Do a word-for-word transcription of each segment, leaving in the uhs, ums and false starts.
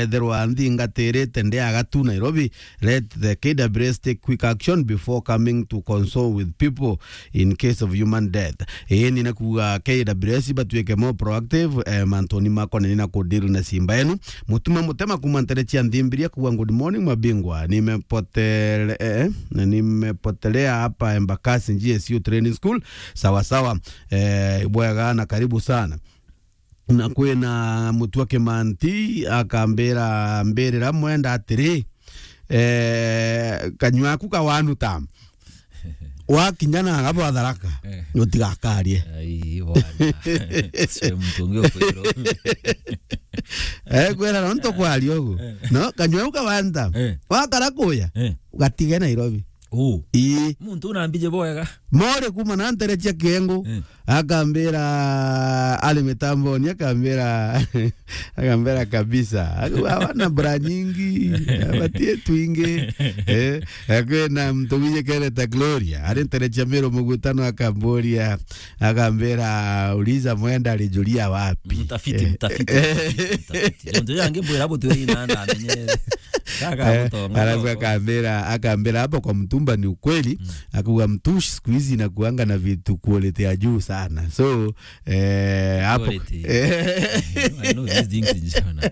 ethirwa nthingatirite ndiaga tu Nairobi, let the K W S take quick action before coming to console with people in case of human death. Ii ni nakuga K W S batuike more proactive, eh, mantuni makoneni na kudeal na simba enu. Mutuma Mutema kuma ntere cia Nthimbiri akuga, "Good morning, mabingwa. Nimepotele-, eh, nimepotelea hapa Embakasi G S U Training School." Sawa sawa. Eh, bwega na karibu sana. Na kwina Mutua Kimanti akambira, mbirira Mwenda atiri, eh, kanyua aku kawanuta. Wakinya na gabo atharaka, eh, utigakarie. Ai, bwana. Sio mtu ungi ukwiro. Eh, kwira no nto kwaria ugu. Eh. No, kanyua uka wanta. Eh. Wakara kuya, eh, ugatige Nairobi. Oh. Ii. Muntu unambije bwega. More kuma na ntere cia Kiengu. Eh. Akambira, ari mitamboni, akambira, akambira kabisa. Aku-, awana bra nyingi, abatie twingi. Eh, akwina muntu wije kereta Gloria, ari ntere cia Miru Mugutano, akamburia, akambira, "Uliza Mwenda alijulia wapi?" Mtafiti, eh, mtafiti, mtafiti, mtafiti. Jonjo yange mbwira butu ina na amenye. Kaka, eh, mutongo, arabu mutongo. Akambira, akambira, "Hapo kwa mtumba ni ukweli." Mm. Akuga, "Mtushi siku hizi inakuanga na vitu quality ya juu sana." So, eh, hapo quality. Eh. I know these things in China.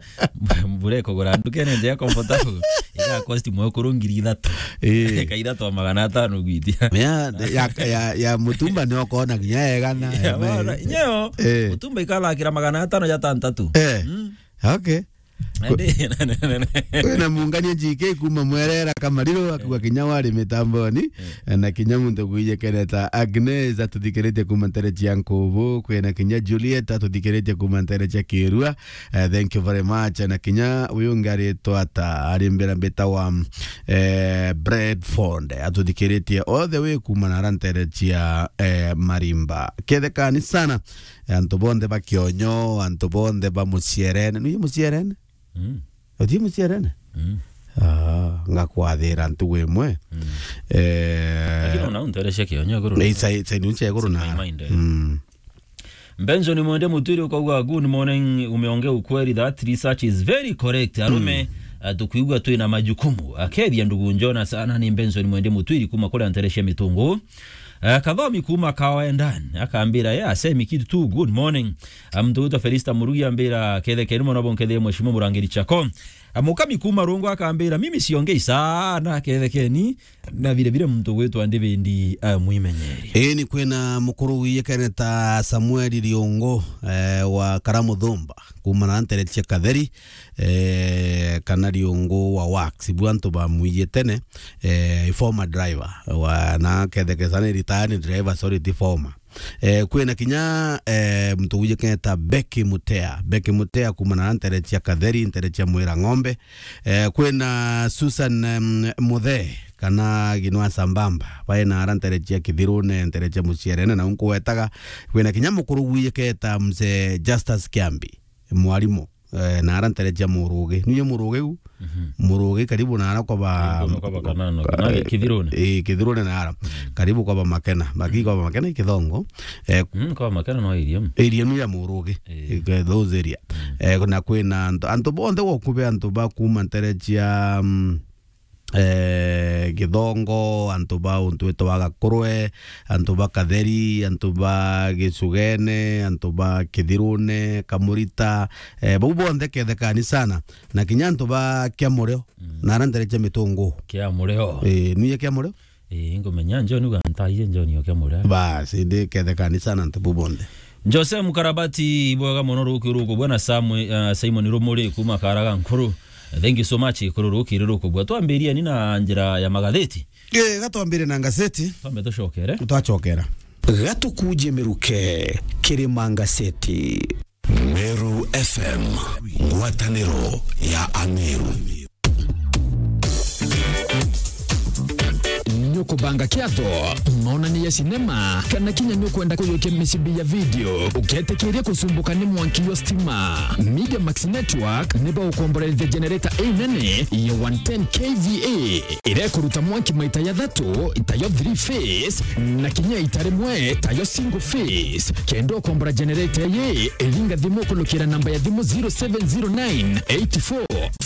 Mbure kugura ndukene nje ya comfortable. Ika cost mwe kuru ngiri ithatu. Eh. Ka ithatu wa magana atano gwitia. Ya, ya, ya, ya mutumba ni okona kinya egana. Ya, ya me- bana, nyeo, eh, mutumba ikala kira magana atano ya tantatu. Eh. Mm. Okay. Andi, kwina mungania G K kuma Mwerera Kamariro, akua kinya wari mitamboni, eh, na kinya muntu gwije kereta Agnes atuthikiritie kuma ntere cia Nkubu, kwina kinya Juliet atuthikiritie kuma ntere cia Kirua. Eh, thank you very much. Na kinya uyu ungi aritwa ata, ari mbira mbita wa, eh, Bradford, atuthikiritie all the way kuma nara ntere cia, eh, Marimba. Kethekani sana. Antu bonthe ba Kionyo, antu bonthe ba Mucierene. Nuye Mucierene? Mm. Uti Mucierene? Mm. Ah, ngakwathira ntugu imwe. Mm. Eh, lakini una unterecia Kionyo iguru na sai, sai nunche iguru na. My mind, eh. Mm. Benson Mwende Mutwiri ukauga, "Good morning, umeongea ukweli, that research is very correct. Arume, mm, eh, tukwigua twina majukumu." Akethia ndugu njona sana ni Benson Mwende Mutwiri kuma kuria nterecia Mitungu. Eh, Kathomi kuma Kawendan, akambira, "Yeah, Semi Kid too, good morning." Ah, muntu witwa Felista Murugi ambira, "Kethekeni mono bonkethie Mheshimiwa Murangiri Chako." Ah, Mukami kuma Rungu akambira, "Mimi siongei sana, kethekeni." Na vile vile muntu witwa Ndivindi, ah, Mwimenyeri. Ii, ni kwina mukuru wiyekene ta Samuel Riungu, eh, wa Karamuthumba, kuma na ntere cia Katheri, eh, kana Riungu wa Wax. Ibu antu bamwiye tene, eh, former driver wa, na kethekesa ni retired driver, sorry, ti former. Eh, kwina kinya, eh, muntu wiyekene ta Becky Mutea. Becky Mutea kuma na ntere cia Katheri, ntere cia Mwira Ng'ombe. Eh, kwina Susan, em, Muthe, kana Ginwa Sambamba. Bae na ara ntere cia Kithirune, ntere cia Mucierene, na unkugwetaga. Kwina kinya mukuru wiyekene ta Mzee Justus Kiambi, mwarimu. Eh, na ara ntere cia Murugi. Nuye Murugi u? Mhm. Murugi karibu na ara kwa ba-, karibu na kwa ba Kanano, eh, Kanano, Kithirune. Eh, Kithirune na ara. Mm. Karibu kwa ba Makena. Baki kwa ba Makena i Kithongo. Eh, mm, kwa ba Makena no area. Area nu ya Murugi. Eh. Eh, those area. Mm. Eh, na kwina antu, antu bonthe gukube antu ba kuma ntere cia, mm, eh, Githongo, antu ba untu witwa wa Gakurwe, antu ba Katheri, antu ba Gicugene, antu ba Kithirune, Kamurita, eh, bau bonthe kethekani sana. Na kinya antu ba Kiamurio, mm, na ara ntere cia Mitungu. Kiamurio. Eh, nuye Kiamurio? Eh, ngumenya John uga ntaie John o Kiamurio. Bas, indi kethekani sana antu bau bonthe. Jose Mukarabati, bwega mono ruki ruku bwana Samu-, uh, Simon Rumuri kuma Karaga Nkuru. Thank you so much, kuru ruki ruku bwa. Twambirie ni na njira ya magatheti. Eh, gatwambire na ngaseti. Twambe tucokere. Twacokera. Gatukuje miruke kiri mangaseti. Meru F M, ngwataniro ya Ameru. nukubanga kiatho, maonanio ya sinema, kana kinya nukwenda kuyukia micibi ya video, uketikiria kucumbuka ni mwanki jwa stima. Media Max Network ni baukomborerithia generator inene ya one ten K V A, iria ikuruta mwanki maita jathatu, tayo three phase, na kinya ita rimwe, tayo single phase. Kenda ukombora generator ii, ringa thimu kulukira namba ya thimu zero seven zero nine eight four